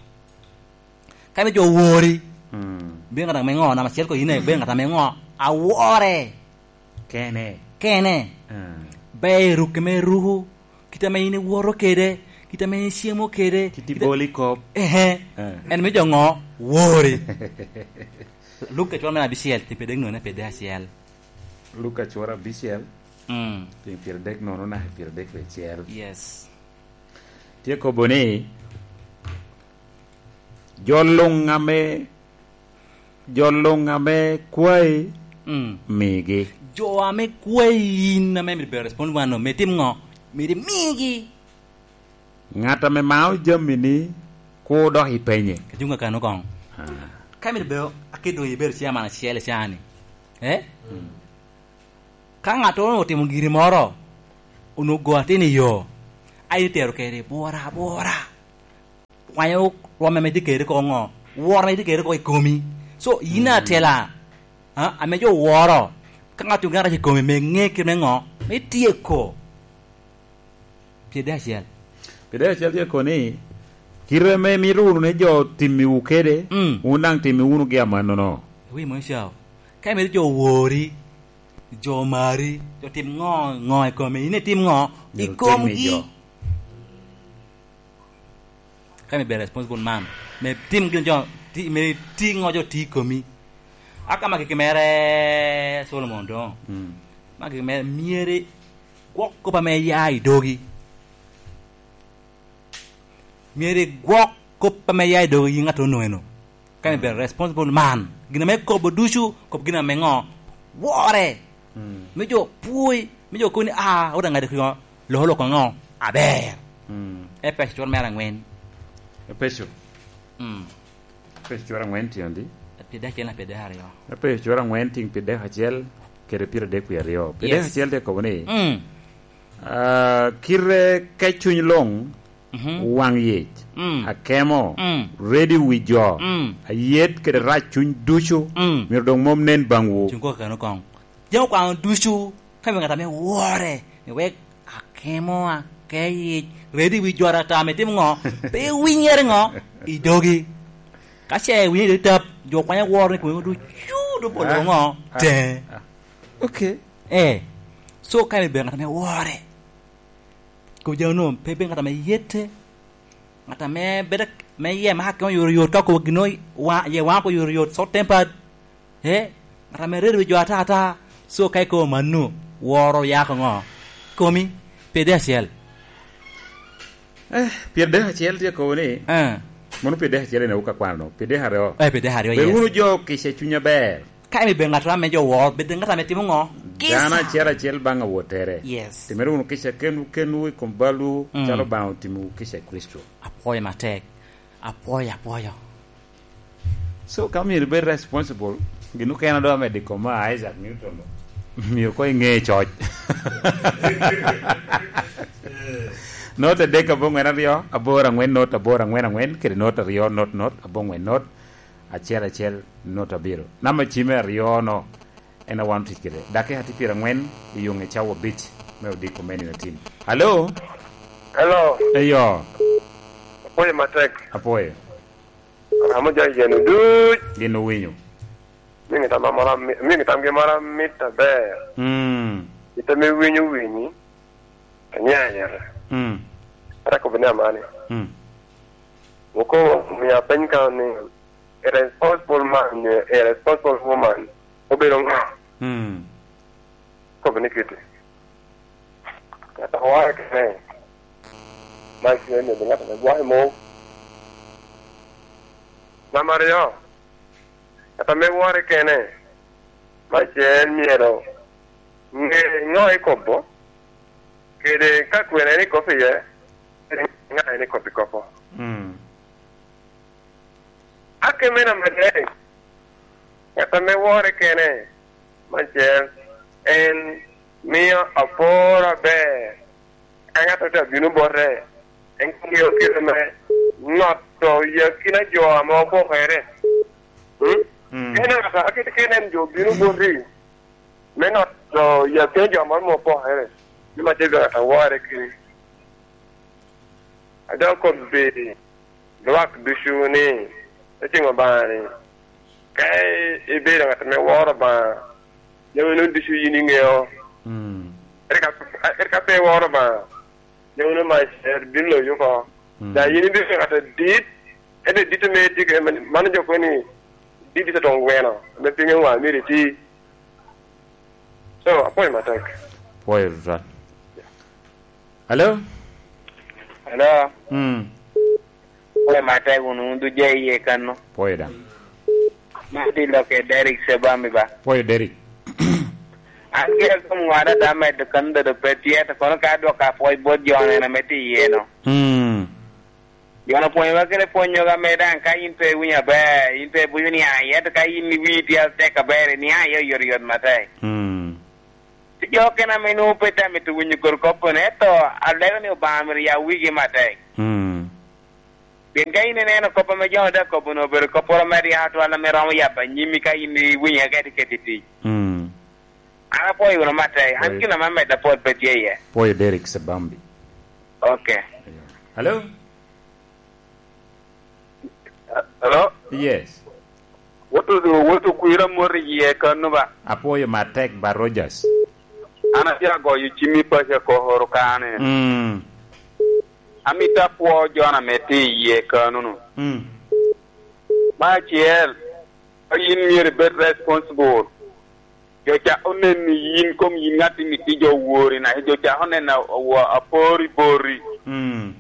Ka be jo wori, mm, be ŋat ame ŋo? Namba acel ko yin aye be ŋat ame ŋo? Awore. Kene. Kene. Ah. Be ruke me ruku, kit ame in iwoto kede, kit ame in icemo kede, kit iboli kop. Ehe. Ah. En me jo ŋo? Wori. Luka cwalo me abicel, tye pede ŋone pede acel. Luka cwalo abicel, mm, pyeradek nono naka pyeradek acel. Yes. Tye kobo ni, jo luŋ ame, jo luŋ ame kwayi, mm, migi. Jo ame kwayi in ame myero bedo respond wan-nu, me tim ŋo? Myero imigi. Ŋat ame mao jamini, kur dok ipenye. Ka cuŋ kakano koŋ. Ah. Ka myero bedo, akit doŋ ibedo chairman acel i caa-ni. Eh? Mm. Ka ŋattoro otimo giri moro, onwoŋo go atin i yo, a in itero kede bwora abwora. Kwanyo rwom ame itye kede oko ŋo? Woro ame itye kede oko i komi. So, yin, mm, atela, a, ame jo woro, ka ŋat tye gin arac i komi, me ŋe kit me ŋo? Me tyeko. Pi dek acel. Pi dek acel tye kono ni, kite ame imito wunu ni jo timmiwu kede, mm, wun daŋ timmi wunu gi amannono. Wi mony cao. Ka imito jo wori, jo mari, jo tim ŋo, ŋo i komi, in itim ŋo i komgi? Myero tim i jo. Ka imito bedo responsible man, me tim gin jo, ti, me ti ŋo jo ti i komi. Aka ma gigi mere Solomon doŋ. Mm. Ma gigi mere myero igwok kop ame ya i dogi. Myero igwok kop ame ya i dogi yin ŋat onwoŋo eno. Ka imito bedo responsible man, gin ame ikobo ducu, kop gin ame ŋo? Wore. Mm. Me jo pwoi, me jo kobo ni, "Ah, wot aŋadi kino, loko loko ŋo? Aber." Mm. Epeco cur mere aŋwen. Epeco. Mm. Epeco cur aŋwen tye adi? Pi dek acel na pi dek aryo. Epeco cur aŋwen tiŋ pi dek acel kede pire dek wie aryo. Pi dek, yes, acel tye kobo ni, mm, ah, kite ka cuny luŋ, mhm, waŋ yec, mm, akemo, mm, redo wi jo, mm, ayet kede rac cuny ducu, mm, myero doŋ mom nen baŋwu. Cuŋ koko kano koŋ. Jami okwano ducu, ka myero ŋat ame wore, ni wek akemo, akeyic, redo wi jo ata ame timo ŋo, pe winyere ŋo, i dogi. Ka ce iwinyo i tap, jo kwanya woro ni kome ducu, do bolo, ah, ŋo, ah, teŋe. Ah. Ok. Eh, so ka myero bedo ŋat ame wore. Kop jami onwoŋo pe bedo ŋat ame yette, ŋat ame bedo me yie me akemo oyotoyot, ka okobo gin wa-, ye waŋ oko oyotoyot, short tempered. Eh, ŋat ame redo wi jo ata ata. So ka ikobo mano, woro ya oko ŋo? Komi, pi dek acel. Eh, pyerdek acel tye kobo ni, eh, mono pyerdek acel en awu ka kwano, pyerdek aryo. Eh, pyerdek aryo, bed, yes, wunu jo kica cuny aber. Ka imito bedo ŋat ame jo woro, bed ŋat ame timo ŋo? Kica. Dano acel acel baŋ awottere. Yes. Timere wunu kica kenwu kenwu i kom balwu, mm, calo Obaŋa otimowu kica i Kricito. Apwoyo matek. Apwoyo, apwoyo. So, ka myero ibed responsible, gin okene a doŋ amedo i koma Isaac Newton, myero koŋ iŋe coc. Not adek aboŋwen aryo, aboro aŋwen not aboro aŋwen aŋwen, kede not aryo not not aboŋwen not acel acel not abiro. Namba cime aryo-no en a wan otic kede. Dakika tye pyeraŋwen i yo ŋe cawa abic me odiko me nino atin. Alo? Hello. Eyo. Apwoyo matek. Apwoyo. Amo jo yen oduc. Gin owinyo. Miŋ tam amoro ami-, miŋ tamgi moro amit aber. Mm. Ite me winyo winyi, aniaya yata. Mm. Ata kobo ni amani. Mm. Woko omio apeny ka ni, a responsible man, a responsible woman, obedo ŋo? Mm. Kobo ni kiti. Ŋat a wore kene, man tye ni ŋat ame gwayo mok. Namba aryo, ŋat ame wore kene, man tye en myero ŋe ŋo ikobo, kede ka kwene en ikobo iye, kede ŋa en ikobo ikopo. Mm. Akeme namba adek, ŋat ame wore kene, man cel, en mio apor aber. Ka ŋat a tye abino bote, en ŋeo kite me noto i akina jo ame opokere. Mm? Mm. En ŋat a kite kene en jo bino boti, me noto i akina jo moro ame opokere, ni man tye ŋat a wore kene. A dok kobbi lwak ducu ni, eceng Obaŋa ni, ka ibedo ŋat ame woro Obaŋa, jami nwoŋo ducu yin iŋeo. Mm. Eka, eka pe iworo Obaŋa, jami nwoŋo mac bino loyi oko. Mm. Daŋ yin ibedo ŋat adit, ento dit ame itye kede man, mano jo kobo ni, dit ite toŋ gweno, ame pinye wa myero iti. So, apwoyo matek. Pwoyo tutwal. Hello? Hello? Mm. Pwoyo matek wunu, wun ducu iye kanno. Pwoyo daŋ. Man tye lok i Derrick Sebami ba. Pwoyo Derrick. An gire kom ŋwada da medo kan dodo pe tye, to kono ka adwoko apwoyo bot jo neno ame tye iye no. Mm. Jo-nu opwonyowa kede pwonyoga me daŋ ka in pe iwinyo aber, in pe ibuco niaŋ iye, ento ka in iwii tye atek aber, iniaŋ iye oyotoyot matek. Mm. Tye jo okene ame nwoŋo pe tye amito winyo kor kop-pene, ento alego ni Obaŋa myero ya wigi matek. Mm. Pien ka in ineno kop ame jo-nu daŋ kobo-nu obedo kopporo me ryeko atwal ame romo yabo anyimi ka in iwinyo eka itye keto i tic. Mm. An apwoyo wunu matek, an gin ame amedde apwod pe tye iye. Pwoyo Derrick Sebambi. Ok. Hello? Hello? Yes. Woto, woto kwira mot i yie kano ba? Apwoyo matek ba, Rogers. An atye agoyo cim i paco koro kane. Mm. Amito apwo Jona me tye i yie kano-nu. Mm. Me acel, ka yin myero ibed responsible. Jo ca onen ni yin kom yin ŋat imito jo wori, na jo ca onen a-, a-, apor i bori. Mm.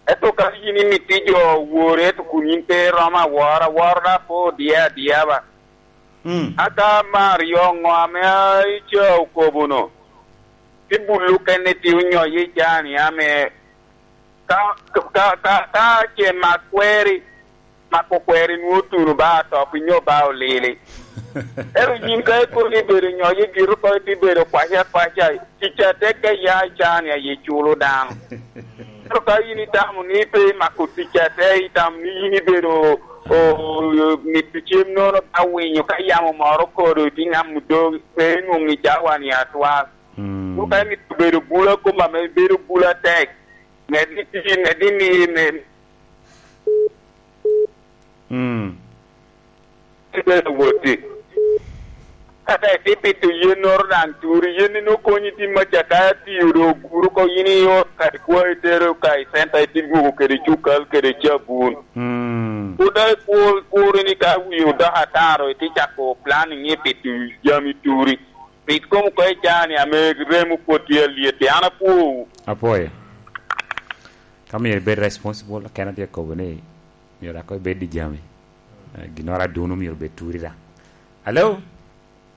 Ento ka yin imito jo wori, ento kun yin pe iromo aworo, aworo da pe odiye adiya ba. Mm. Aka Mario ŋo ame a ica okobo-nu? Ti bulu kene ti onyoye i cani ame ka, ka, ka, ka ce mak kweri, mako kweri nwoŋo otuno ba atop inyo ba olili. Ero yin ka ikono ibedo nyoyo i giro ko iti bedo kwaca kwaca, tic atek ka ya i cani aye culo dano. Ero ka yin itamo ni pe imako tic atek, itamo ni yin ibedo o-, o-, mito cem nono ka winyo ka yamo moro kodo iti ŋamo dogi, pe inwoŋo i cawa ni atwal. Mm. Ka imito bedo bula kom ame bedo bula tek, Medde i, medde i, me-, Mm. Ibedo woti. Kata itye pito yennoro daŋ turi, yen-ni nwoŋo konyi tim acakaya tiyo do oguro ko yin i ot kadi kwa itero ka i centa itye dwogo kede cukal kede cabun. Mm. Pwod daŋ ikur, kuri ni ka wi odoko ataro itye cako planning ni pito jami turi. Pit kom oko i caa-ni ame remo pwod tye alyet, an apwowu. Apwoyo. Ka myero ibed responsible, kena tye kobo ni myero dako ibed i jami. Eh, ginnoro aduno myero obed turi da. Hello?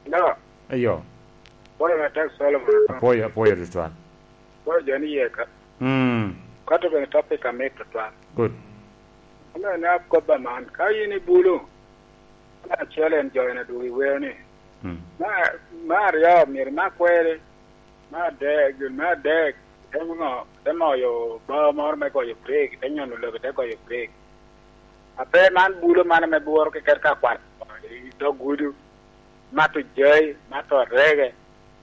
Hello? Ayo. Apwoyo matek Solomon. Apwoyo, apwoyo tutwal. Apwoyo jo ni yeka. Mm. Kato bene topic amit tutwal. Good. Ame ne akobba man, ka yin ibulu, me acel en jo en adwogo i weo ni, Mm. me, me aryo myero imak kweri, me adek, gin me adek, te ŋo, te moyo bao moro me goyo break, te nyono lobo, te goyo break. Ape man bulo man ame bworo keken ka kwat i dog gudu, mato jai, mato arege,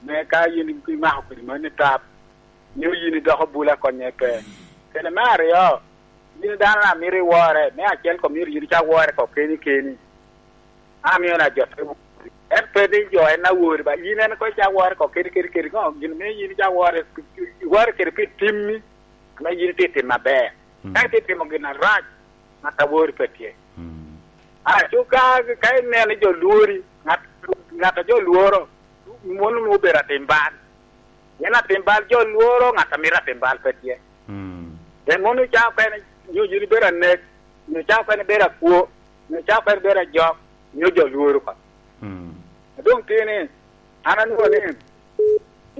me ka yin imako kodi mani tap, nyo yin idoko bula konye pe. Kede me aryo, yin dano na mito iwore, me acel kom myero yin icak wore ko keni keni. Amio na jo te wori. En pe ni jo en awori ba, yin en ko icak wore ko keni keni keni ŋo, gin me yin icak wore, iwore kede pi timmi, ame yin itye timo aber. Mm. Ka itye timo gin arac, ŋat awori pe tye. Mm. Aco ka, ka ineno ni jo lwori, ŋat, ŋat a jo lworo, mono nwoŋo obedo atim bal. Pien atim bal jo lworo, ŋat a mito atim bal pe tye. Mm. Pien mono ca okene, nyo yin ibedo anek, nyo ca okene ibedo akwo, nyo ca okene ibedo ajok, nyo jo lworo oko. Mm. A doŋ tye ni, an anwoŋo ni,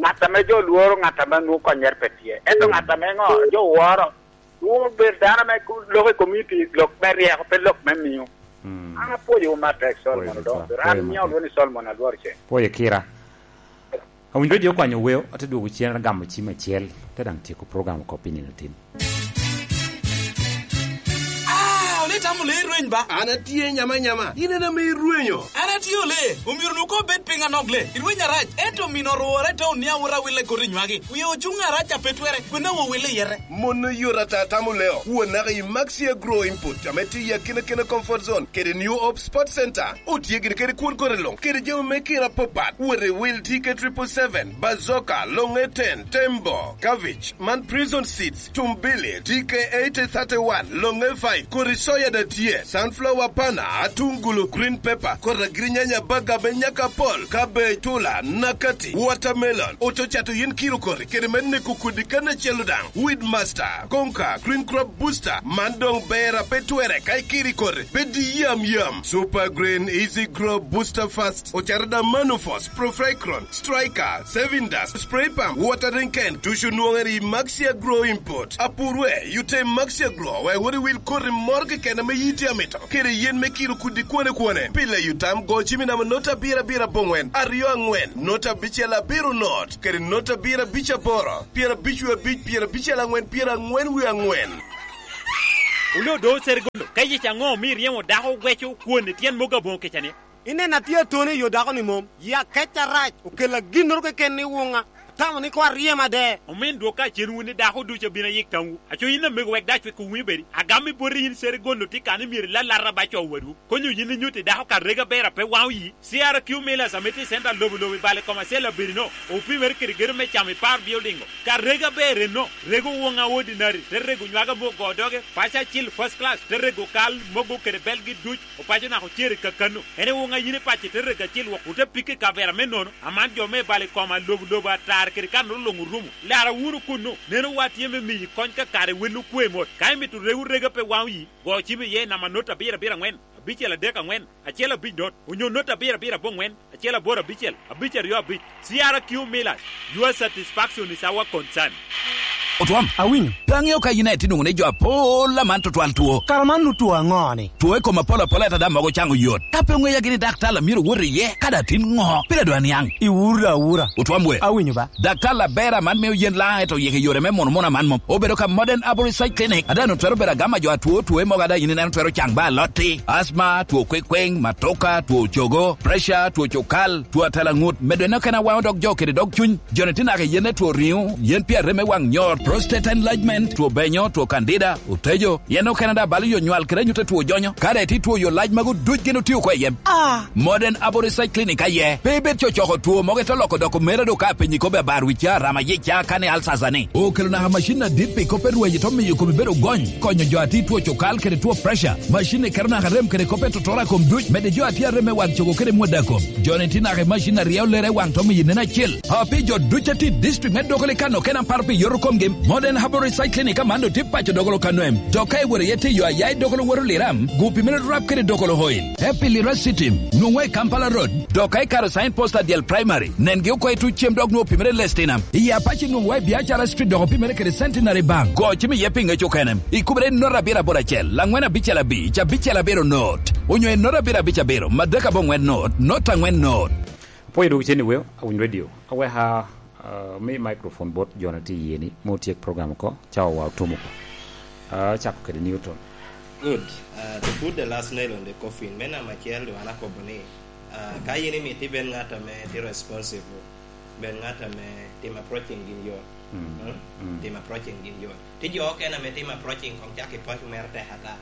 ŋat ame jo lworo, ŋat ame nwoŋo konnyere pe tye. Ento Mm. ŋat ame ŋo, jo woro, nwoŋo bedo dano ame ku-, lok i komiti, lok me ryeko, pe lok me miyo. Mm. An apwoyowu matek, Solomon Odongo. An miyo olwongo ni Solomon Alwor Ceng. Pwoyo kira. Awinyo jo okwanyo weo, ate dwogo cen, agamo cim acel, te daŋ tyeko program oko pi nino tin. Ah, ole itamo le irweny ba? An atye nyama nyama, in en ame irwenyo. An atye ole, omyero nwoŋo obed piny anok le, irweny arac, ento omino orwore te onia wot awille koti nywagi. Wie ocuŋ arac a pe twere, kwena wo wille yete. Mon oyot ata tamo leo, kuwo naka i Maxi Agro Input, ame tye i akinakina Comfort Zone, kede New Hope Sports Center. Otye gin kede kwon kore luŋ, kede jami me kira apapat. Wot i wil T K triple seven, Bazooka, Longe ten, Tembo, Cabbage, man Prison Seeds, Tumbili, T K eighty thirty-one, Longe five, kodi soya da tye, sunflower pana, atungulu, green pepper, kodi agirinyanya, baga me nyaka apol, cabbage, tula, nakati, watermelon, oto cato yin kiro kori, kede me neko kodi kan acel daŋ, Weed Master, Konka, Green Crop Booster, man doŋ ber a pe twere ka ikiri koti, bed i yam yam. Super Green, Easy Grow, Booster Fast, ocato da Manufos, Profecron, Striker, Saving Dust, Spray Pump, Watering Can, ducu nwoŋere i Maxi Agro Import. Apurwe, yute i Maxi Agro, wek wot iwil koti moro keken ame yiti amito, kede yen me kiro kudi kwone kwone. Pile yutam go cimi namba nota abiro abiro aboŋwen, aryo aŋwen, nota abicel abiro not, kede nota abiro abic aboro, pyerabic wie abic, pyerabicel aŋwen, pyeraŋwen wie aŋwen. Oloo do Serigolo, ka yec aŋo omio iryemo dako ogweco kwon i tyen mogo aboŋo kecani? Ineno atye atoni i yo dako-ni mom, yi akec arac, okella ginnoro keken ni wuŋa. Tamo ni koŋ aryem ade. Omin dwok ka cen wun i dako ducu abino ayik tamwu. Aco yin amego wek dac wek owinyo bedi. Agam i boti yin sere gono tye kan i myero ilalata ba co wadwu. Konyo yin inyutti dako ka rega ber a pe waŋo yi. C R Q Millers ame tye i center lobo lobo i bale kom acel abedi no. Opimere kede gedo me camo i par building o. Ka rega ber enno. Rego woŋa ordinary. Te rego nywaga mo go doge. Paco acil first class. Te rego kal mogo kede belgi duc. Opaco naka ocere kakano. En ewoŋa yin i paco i te rego acil wok ote pikke i kavera me nono. Aman jo me bal i koma lobo lobo atar kede kan olo luŋ orumo. Lara wunu kunnu. Neno wa tye me miyi kony ka kare wel okwe mot. Ka imito rewu rega pe waŋ oyi, go cim iye i namba not abiro abiro aŋwen, abicel adek aŋwen, acel abic not, onyo not abiro abiro aboŋwen, acel aboro abicel, abic aryo abic. C R Q Millers, your satisfaction is our concern. Otwom. Awinyo. Pe aŋeo ka yin aye tye nwoŋo ni jo apol aman tutwal two. Kara man nu two aŋo ni? Two i kom apol apol ata daŋ mogo caŋ oyot. Ka pe oŋeya gini daktar a myero wot iye, ka daŋ tin ŋo? Pire dwa niaŋ. Iwura awura. Otwom we. Awinyo ba. Daktar aber aman mio yen laŋ eto yeke yore me mono mono aman mom. Obedo ka Modern Arborist Side Clinic. Ada nu twero bedo agama jo atwo two mogo ada yin ineno twero caŋ ba alotti. Asthma, two kwekweŋ, matoka, two cogo, pressure, two cokal, two atela ŋut, medo en okene awaŋo dog jo kede dog cuny. Joni tye naka i yen e two riŋo, yen pi arem me waŋ nyor, prostate enlargement, two benyo, two candida, otejo, yen okene da balo yo nywal kede anyut e two jonyo. Kare ti two yo lac mago duc gin otio ko i yen. Ah. Modern Aboriginal Clinic aye. Pe ibed cocoko two mogo ito loko doko mera do ka penyi kobe abar wica, rama yica, kane alsasa ni. Okelo naka macin adit pi kop e rweny ito miyo komi bedo gony. Konyo jo ati two cokal kede two pressure. Macin ni keto naka rem kede kop e totoro a kom duc. Mede jo ati arem me waŋ cogo kede mwada kom. Joni tye naka i macin a ryeo lere i waŋ tom i nen acel. Api jo duc a tye i district me Dogoli kano kena paro pi yoto komgi. Modern Herbal Recycling i Kamando tye paco Dogolo kano em. Dok ka iworo iye tiyo aya i Dogolo woro Liram, gupi mere rap kede Dogolo Oil. Epi Lira City, nwoŋo i Kampala Road. Dok ka ikaro sign post a dyel primary, nengi oko i tuc cem dok nwoŋo opimere Lestina. I Apache nwoŋo wa i Biacara Street dok opimere kede Centenary Bank. Go cim iye pi ŋec okene. Ikubere i nota abiro aboro acel, laŋwen abicel abic, abicel abiro not. Onyo i nota abiro abic abiro, madek aboŋwen not, not aŋwen not. Apwoyo dwogo cen i weo, awiny radio. Aweka, ah, mi microphone bot jo na tye iye ni, me otyek program oko, cawa wa otum oko. Ah, cako kede Newton. Good. Ah, to put the last nail on the coffin, me namba acel, dong an akobo ni, ah, ka yin imito ibed ŋat ame tye responsible, bed ŋat ame tim approaching gin yot. Mm. Mm? Mm. Tim approaching gin yot. Tye jo okene ame tim approaching kong cak i paco mere tek ata.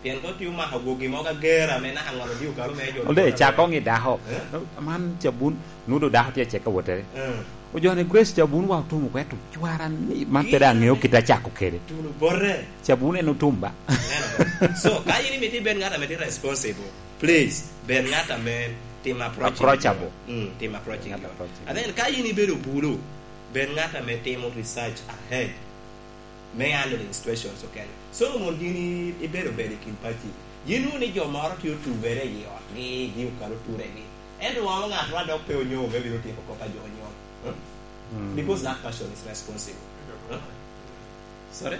Pien kong tye omako gwogi mogo ager ame naka ŋolo odiko kalo mere jo. Olde, cak koŋ i dako. Eh? Man cabun, nudo dako tye acek ka wotere. Eh. Ojone Grace cabun wa otumo kwe tum cwara ni, man pe dong aŋeo kit acako kede. Tuno bote. Cabun en otum ba. Neno ba. So, ka yin imito ibed ŋat ame tye responsible, please, bed ŋat ame tim approaching. Approachable. Mm, tim approaching. Ŋat approachable. And then, ka yin ibedo bulu, bed ŋat ame timo research ahead me handling situations okene. Solomon, yin i-, ibedo bedo i kin paci. Yin wunu ni jo moro tye otubere i otgi, gi okato turegi. Ento wamo ŋat ma dok pe onyo, me bino tiko kop a jo onyo. Huh? Mm. Because that person is responsible. Huh? Sorry?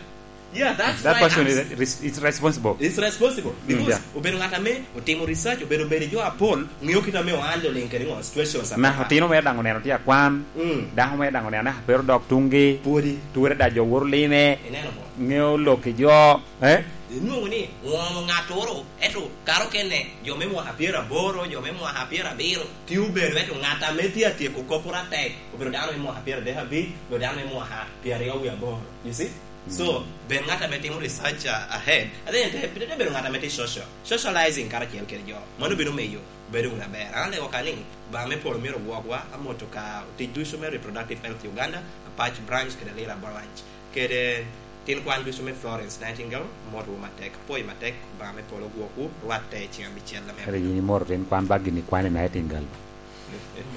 Yeah, that's that why person I'm is, is, is responsible. Is responsible. Mm, because yeah. Obedo ŋat ame otimo research, obedo bedo jo apol, ŋeo kit ame o handling kede ŋo situations. Na otino mere daŋ oneno tye akwan, mm, dako mere daŋ oneno naka pe odok tuŋgi, pwodi. Ture da jo woro lime, ineno mo? Ŋeo lok i jo, eh? Inwoŋo ni, ŋomo ŋattoro, ento karo kene, jo me mwaka pyeraboro, jo me mwaka pyerabiro, tye obedo, ento ŋat ame tye atyeko kop pwod atek, obedo dano me mwaka pyeradek abic, obedo dano me mwaka pyeraryo wie aboro. You see? So, mm, bed ŋat ame timo research, uh, ahead. I think te, te bedo ŋat ame tye social. Socializing karacel kede jo. Mano bino miyo bedo wunu aber. An alego ka ni, ba me polo myero ogwokwa, amoto ka tic ducu me Reproductive Health Uganda, Apac Branch kede Lira Branch. Kede tin kwan ducu me Florence Nightingale, amotowu matek. Apwoyo matek, ba me polo ogwokwu, rwatte i ceng abicel ame abino. Kare yin imoto tin kwan ba gini kwane Nightingale.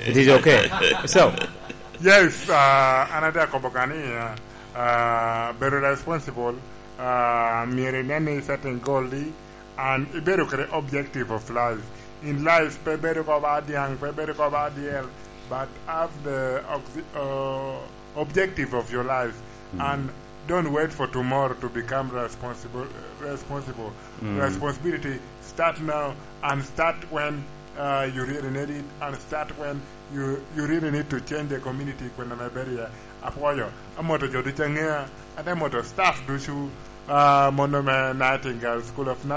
It is okay. So. Yes, uh, an ate akobo ka ni, uh, uh, bedo responsible, uh, myero inen ni setting goal di, and ibedo kede objective of life. In life, pe bedo ko ba diaŋ, pe bedo ko ba dyel, but have the oxi-, uh, objective of your life, mm, and don't wait for tomorrow to become responsible, responsible. Mm. Responsibility start now and start when, uh, you really need it and start when you, you really need to change the community kwena me bedo iye. Apwoyo, amoto jo ducu aŋea, ate moto staff ducu, uh, mono me Nightingale School of Nursing.